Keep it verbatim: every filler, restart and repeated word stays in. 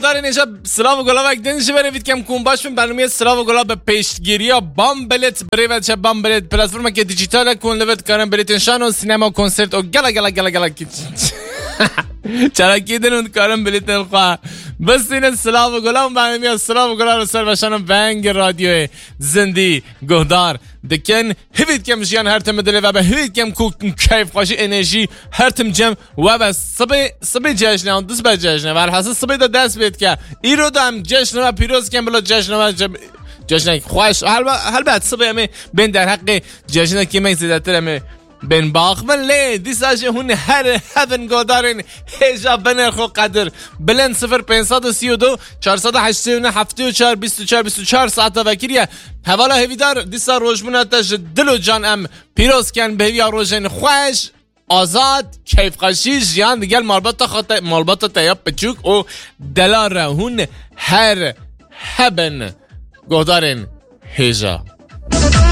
Darên hêja, silav û gulavek din ji berê vî dikem ku hûn baş bin. Bernameyê Silav û Gulav bi pêşgiriya Bambelet bi rê ve diçe. Bambelet platformeke dîjîtal e ku hûn li vir dikarin bilêtên şano, sînema, konsert û gela gela gela gela çalakî din hûn dikarin bilêtên xwe bistînin. Silav û Gulav, bernameyê Silav û Gulav li ser Veşano Vengê Radyoyê Zindî guhdar dikin. Hivî dikem jiyan her tim dilê ve be. Hivî dikem ku keyfxweşî, enerjî her tim cem we be. Sibê, sibê cejne, an disbe cejne. Velhasil sibê de dest pê dike. Îro de em cejne we pîroz dikin, bila cejne we ce-, cejnek xweş. Helbe-, helbet sibê em ê bên derheqê cejnekî me zêdetir em ê bên baxmin. Lê dîsa jî hûn her hebin godarên hêja binêr xwe qedir. Bilind sifir pênc sed û sî û du, çar sed û heştê û neh, heftê û çar, bîst û çar, bîst û çar saeta vekiriye. Hevala hêvîdar, dîsa rojbûna te ji dil û can em pîroz ken, bi hêviya rojên xweş, azad, keyfxweşî, jiyan digel malbata xwe te, malbata te ya piçûk û delal re hûn her hebin godarên hêja.